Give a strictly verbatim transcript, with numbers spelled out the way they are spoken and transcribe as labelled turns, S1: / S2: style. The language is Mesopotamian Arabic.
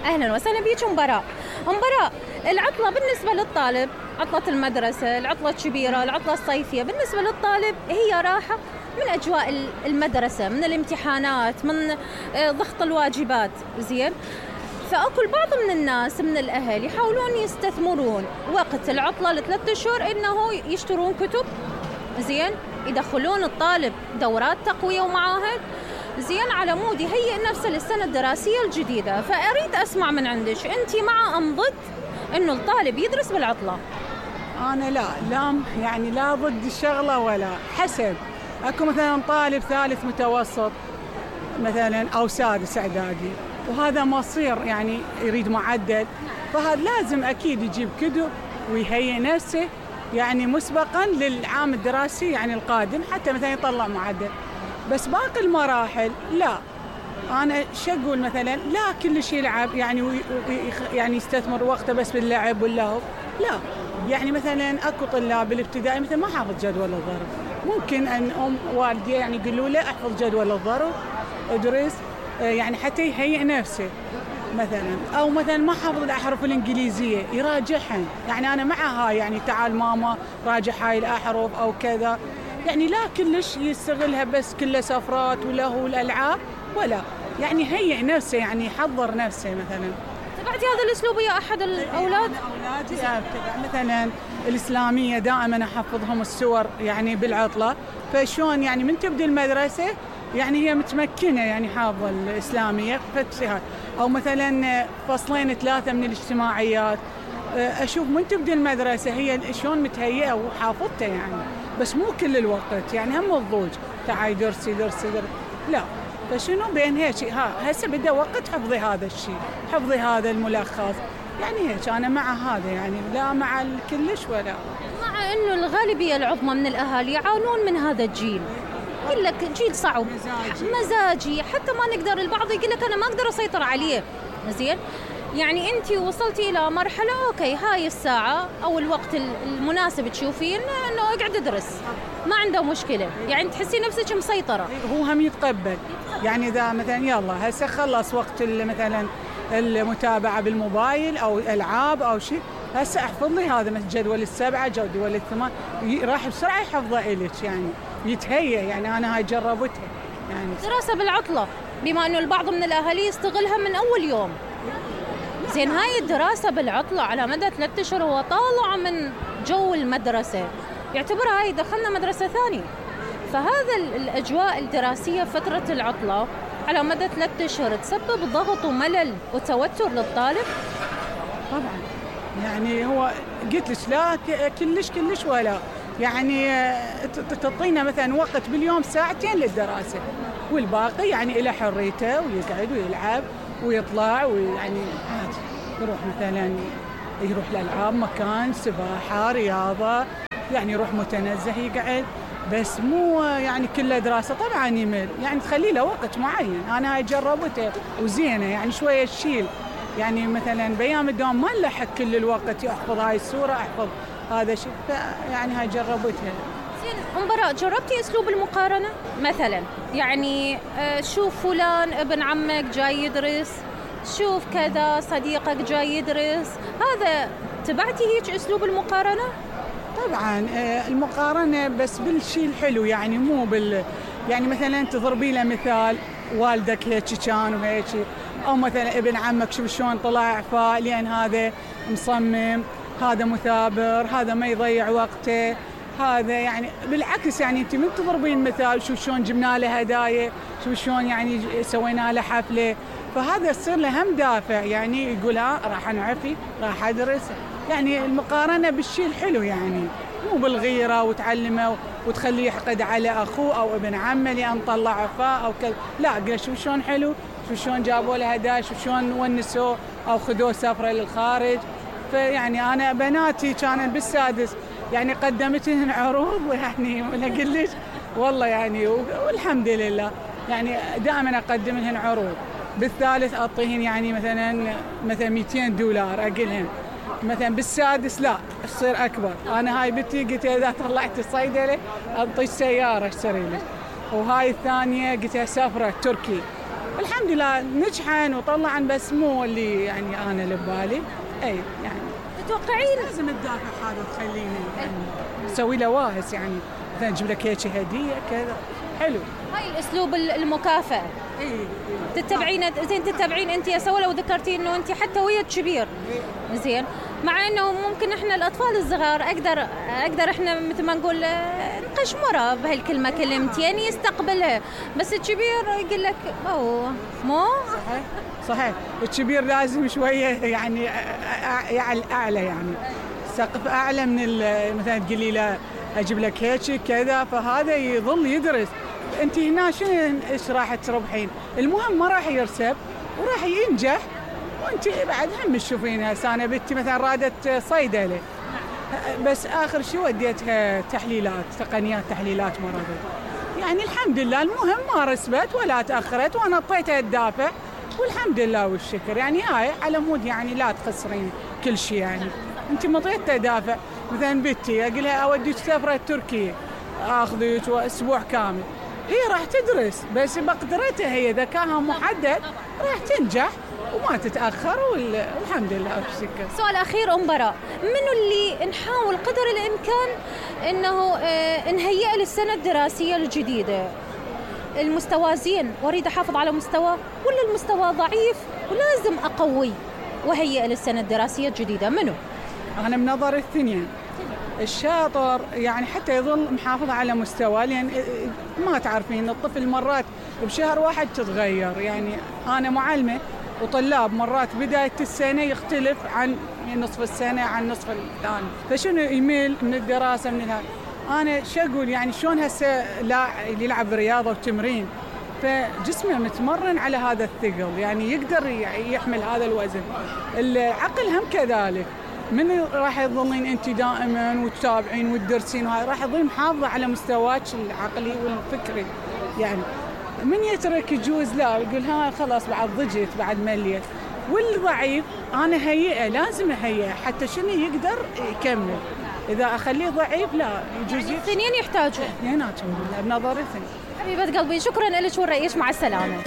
S1: أهلا وسهلا بيك أم براء. أم براء، العطلة بالنسبة للطالب، عطلة المدرسة، العطلة الكبيرة، العطلة الصيفية، بالنسبة للطالب هي راحة من أجواء المدرسة، من الامتحانات، من ضغط الواجبات. زين، فأكو بعض من الناس من الأهل يحاولون يستثمرون وقت العطلة لثلاثة أشهر إنه يشترون كتب، زين، يدخلون الطالب دورات تقوية ومعاهد، زين، على مود يهيئ نفسه للسنة الدراسية الجديدة. فأريد أسمع من عندك، أنت مع أم ضد إنه الطالب يدرس بالعطلة؟
S2: أنا لا لا يعني لا ضد الشغلة ولا، حسب. أكو مثلا طالب ثالث متوسط مثلا أو سادس إعدادي وهذا مصير يعني يريد معدل، فهذا لازم أكيد يجيب كتب ويهيئ نفسه يعني مسبقا للعام الدراسي يعني القادم حتى مثلا يطلع معدل. بس باقي المراحل لا، أنا شقول مثلا لا كل شيء يلعب يعني يعني يستثمر وقته بس باللعب واللهو، لا. يعني مثلا أكو طلاب بالابتدائي مثلا ما حافظ جدول الضرب، ممكن أن أم والدي يعني يقولوا له احفظ جدول الضرب ادرس يعني حتى يهيئ نفسه مثلا، أو مثلا ما حافظ الأحرف الإنجليزية يراجعها. يعني أنا مع هاي، يعني تعال ماما راجع هاي الأحرف أو كذا، يعني لا كلش يستغلها بس كله سفرات ولهو والألعاب، ولا يعني هيئ نفسه يعني يحضر نفسه. مثلا
S1: تبعتي هذا الأسلوب يا أحد الأولاد؟
S2: أولادي أتبع مثلا الإسلامية دائما أحفظهم السور يعني بالعطلة، فشون يعني من تبدأ المدرسة يعني هي متمكنة يعني حافظة الإسلامية فتها، أو مثلا فصلين ثلاثة من الاجتماعيات أشوف من تبدأ المدرسة هي شون متهيئة وحافظتها يعني، بس مو كل الوقت يعني هم الضوج تعاي درسي درسي درسي لا. فشنو بين هيك ها هسه بدأ وقت حفظي هذا الشيء، حفظي هذا الملخص، يعني هيك أنا مع هذا يعني لا مع الكلش ولا.
S1: مع إنه الغالبية العظمى من الأهالي يعانون من هذا الجيل، يقول لك جيل صعب مزاجي. مزاجي حتى ما نقدر، البعض يقول لك أنا ما أقدر أسيطر عليه. زين، يعني أنت وصلتي إلى مرحلة أوكي هاي الساعة أو الوقت المناسب تشوفين إنه اقعد ادرس، ما عنده مشكلة، يعني تحسي نفسك مسيطرة.
S2: هو هم يتقبل يعني إذا مثلا يلا هسه خلص وقت مثلا المتابعة بالموبايل أو ألعاب أو شيء، هسه أحفظ لي هذا مثل جدول السبعة جدول الثمان، راح بسرعة يحفظه إليك يعني يتهيأ. يعني أنا هاي جربتها يعني.
S1: دراسة بالعطلة بما إنه البعض من الأهالي يستغلها من أول يوم، زين، هاي الدراسة بالعطلة على مدى ثلاثة أشهر هو طالع من جو المدرسة، يعتبرها هاي دخلنا مدرسة ثانية. فهذا الأجواء الدراسية فترة العطلة على مدى ثلاثة أشهر تسبب ضغط وملل وتوتر للطالب؟
S2: طبعا يعني هو قلت لك لا كلش كلش ولا، يعني تعطينا مثلا وقت باليوم ساعتين للدراسة والباقي يعني إلى حريته ويقعد ويلعب ويطلع ويعني عادي يروح مثلا يروح لألعاب مكان سباحة رياضة يعني يروح متنزه يقعد، بس مو يعني كله دراسة. طبعا يمل يعني تخلي له وقت معين. أنا هاي جربته وزينة يعني شوية تشيل يعني مثلا بأيام الدوام ما نلحق كل الوقت أحفظ هاي السورة أحفظ هذا شيء، يعني هاي جربتها.
S1: زين أم براء، جربتي أسلوب المقارنة مثلا؟ يعني شوف فلان ابن عمك جاي يدرس، شوف كذا صديقك جاي يدرس، هذا تبعتي هيك أسلوب المقارنة؟
S2: طبعا المقارنة بس بالشيء الحلو يعني مو بال يعني مثلا تضربي له مثال والدك هيك كان وهيك، أو مثلا ابن عمك شوف شلون طلع فا لأن هذا مصمم، هذا مثابر، هذا ما يضيع وقته، هذا يعني بالعكس يعني انت من تضربين مثال شوف شلون جبنا له هدايا، شوف شلون يعني سوينا له حفله، فهذا يصير له هم دافع يعني يقول ها راح انعفي راح ادرس. يعني المقارنه بالشيء الحلو يعني مو بالغيره وتعلمه وتخليه يحقد على اخوه او ابن عمه لان طلع عفاء او كذا، لا قال شوف شلون حلو، شوف شلون جابوا له هدايا، شوف شلون ونسوه او خذوه سفره للخارج. فيعني انا بناتي كانت بالسادس يعني قدمت لهن عروض يعني ولا قلت والله يعني والحمد لله يعني دائما اقدم لهن عروض. بالثالث اعطيهن يعني مثلا مثلا مئتين دولار اقلهن، مثلا بالسادس لا تصير اكبر. انا هاي بنتي قلت اذا طلعت الصيدله اعطيك سياره اشتري لك، وهاي الثانيه قلت سفره تركي الحمد لله نجحن وطلعن، بس مو اللي يعني انا اللي ببالي. اي يعني
S1: تتوقعين
S2: لازم الدافع هذا تخليني يعني نسوي له واهس، يعني مثلا نجيب لك هيك هديه كذا حلو.
S1: هاي الاسلوب المكافاه
S2: اي
S1: تتبعين زين، تتبعين انت يا سوا لو ذكرتي انه انت حتى ويا كبير زين، مع انه ممكن احنا الاطفال الصغار اقدر اقدر احنا مثل ما نقول نقشمره بهالكلمه كلمتين يستقبلها، بس الكبير يقول لك اوه مو
S2: صحيح صحيح. الكبير لازم شويه يعني اعلى، يعني سقف اعلى من مثلا تقولي له اجيب لك هيك كذا، فهذا يظل يدرس. انت هنا شنو ايش راح تربحين؟ المهم ما راح يرسب وراح ينجح. وانت بعد هم تشوفين هسه انا بنتي مثلا رادت صيدله، بس اخر شيء وديتها تحليلات، تقنيات تحليلات مرضيه. يعني الحمد لله، المهم ما رسبت ولا تاخرت، وانا اعطيتها الدافع والحمد لله والشكر. يعني هاي على مود يعني لا تخسرين كل شيء. يعني انت مطيتها دافع، مثلا بنتي اقول لها اوديك سفره تركيا اخذك اسبوع كامل، هي راح تدرس بس بقدرتها، هي ذكاها محدد، راح تنجح وما تتاخر والحمد لله والشكر.
S1: سؤال اخير ام براء، منو اللي نحاول قدر الامكان انه اه نهيئ للسنه الدراسيه الجديده؟ المستوى زين واريد احافظ على مستوى، ولا المستوى ضعيف ولازم اقوي وهيئ للسنه الدراسيه الجديده؟ منو؟
S2: انا بنظر الاثنين. الشاطر يعني حتى يظل محافظ على مستوى، لان ما تعرفين الطفل مرات بشهر واحد تتغير. يعني انا معلمه وطلاب مرات بدايه السنه يختلف عن نصف السنه عن نصف الثاني، فشنو يميل من الدراسه من هذا. انا شو اقول يعني شلون هسه لا يلعب رياضه وتمرين، فجسمه متمرن على هذا الثقل، يعني يقدر يحمل هذا الوزن. العقل هم كذلك، من راح تظلين انت دائما وتتابعين وتدرسين، وهاي راح تظلين محافظه على مستواك العقلي والفكري. يعني من يترك يجوز لا يقول ها خلاص بعد ضجت بعد مليت. والضعيف انا هيئه، لازم اهيئه حتى شنو يقدر يكمل. اذا اخليه ضعيف لا يجوز.
S1: يعني الاثنين يحتاجون
S2: اثنيناتهم بنظري.
S1: حبيبه قلبي شكرا لك ونريش، مع السلامه.